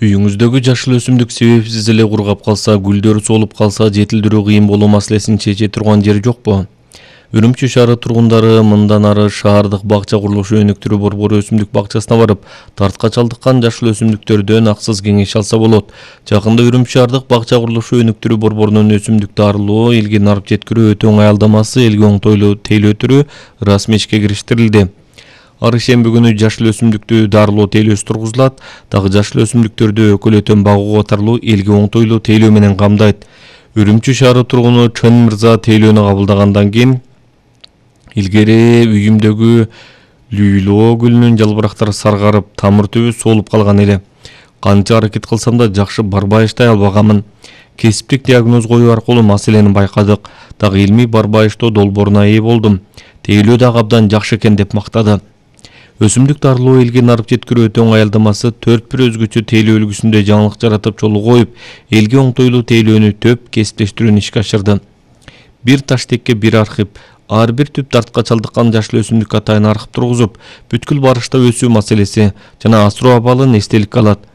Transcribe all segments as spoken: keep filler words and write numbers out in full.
Үйүңүздөгү жашыл өсүмдүк себепсиз эле кургап калса, гүлдөрү солуп калса, жетилдирүү кыйын болуу маселесин чече турган жер жокпу? Үрүмчү шаары тургундары мындан ары шаардык бакча курулушу өнүктүрүү борбору өсүмдүк бакчасына барып, тартка чалдыккан жашыл өсүмдүктөрдөн аксыз кеңеш алса болот. Жакында Үрүмчү шаардык бакча курулушу өнүктүрүү борборунун өсүмдүк дарылоо, элге нарып жеткирүү өтө оңой алдамасы элге оңтойлуу тейлөө түрү расмий ишке кириштирилди. Ар ишемби күнү жашыл өсүмдүктү дарылоо тейлөөсү тургузулат, дагы жашыл өсүмдүктөрдү өкөлөтөн багуу катарлуу элге оңтойлуу тейлөө менен камдайт. Үрүмчү шаары тургуну Чөн мырза тейлөөнү кабылдагандан кийин илгери үйүмдөгү лүйлөө гүлүнүн жалбырактары саргарып, тамыр түбү солуп калган эле. Канча аракет кылсам да жакшы барбайыштай албаганмын. Кесиптик диагноз коюу аркылуу маселени байкадык, дагы илмий барбайыштоо долбооруна ээ болдум. Тейлөө дагы абдан жакшы экен деп мактады. Өсүмдүк дарылоо элге нарып жеткирүү өтө оңой алдамасы төрт бир өзгөчө тейлөө үлгүсүндө жаңылык жаратып жолу коюп, элге оңтойлуу тейлөөнү төп кесиптештирүүнү ишке ашырды. Бир таштекке бир архип, ар бир түп тартка чалдыккан жашыл өсүмдүк атайын архип тургузуп, бүткүл барышта өсүү маселеси жана асыроо абалын эстеликке алат.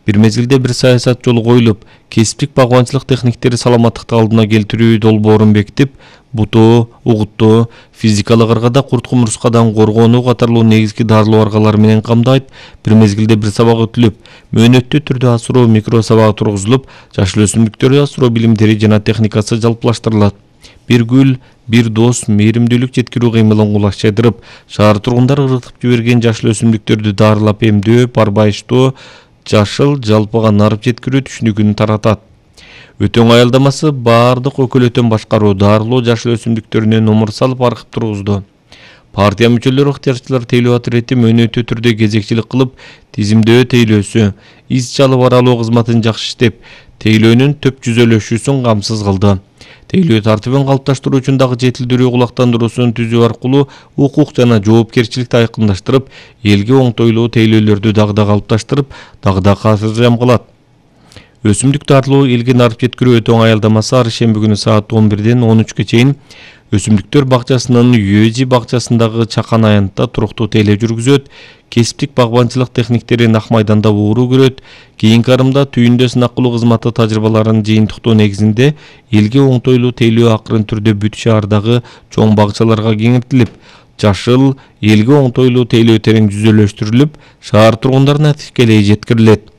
Бир мезгилде бир саясат жолу коюлуп, кесиптик багбанчылык техниктери саламаттыкты алдына келтирүү долбоорун бекитип, бутоо, угуттоо, физикалык ыргада курт кумурскадан коргонуу катарлуу негизги дарылоо аргалары менен камдайт. Бир мезгилде бир сабак өтүлүп, мөөнөттүү түрдө асыроо микро сабагы тургузулуп, жашыл өсүмдүктөрдү асыроо билимдери жана техникасы жалпылаштырылат. Бир гүл, бир дос мээримдүүлүк жеткирүү кыймылын кулачайдырып, шаар тургундары ыргытып жиберген жашыл өсүмдүктөрдү дарылап эмдөө, барбайыштоо, жашыл жалпыга нарып жеткирүү түшүнүгүн таратат. Өтө оңой алдамасы баардык өкөлөтөн башкаруу, дарылоо жашыл өсүмдүктөрүнө номер салып архип тургузду. Партия мүчөлөрү ыктыярчылар тейлөө отурети мөөнөттүү түрдө кезекчилик кылып, тизимдөө тейлөөсү, из чалып аралоо кызматын жакшы иштеп, тейлөөнүн төп жүзөлөшүүсүн камсыз кылды. Тейлөө тартибин калыпташтыруу үчүн дагы жетилдирүү кулактандыруусун түзүү аркылуу укук жана жоопкерчиликти айкындаштырып, элге оңтойлуу тейлөөлөрдү дагы да калыпташтырып, дагы да касыржам кылат. Өсүмдүк дарылоо элге нарып жеткирүү өтө оңой алдамасы ар ишемби күнү саат он бирден он үчкө чейин Өсүмдүктөр бакчасынын Юэжи бакчасындагы чакан аянтта туруктуу тейлөө жүргүзөт. Кесиптик багбанчылык техниктери Нак майданда ууруу көрөт. Кийинки арымда түйүндө сынак кылуу кызматы тажрыйбаларын жыйынтыктоо негизинде элге оңтойлуу тейлөө акырын түрдө бүт шаардагы чоң бакчаларга кеңейтилип, жашыл элге оңтойлуу тейлөө терең жүзөлөштүрүлүп, шаар тургундарына тикелей жеткирилет.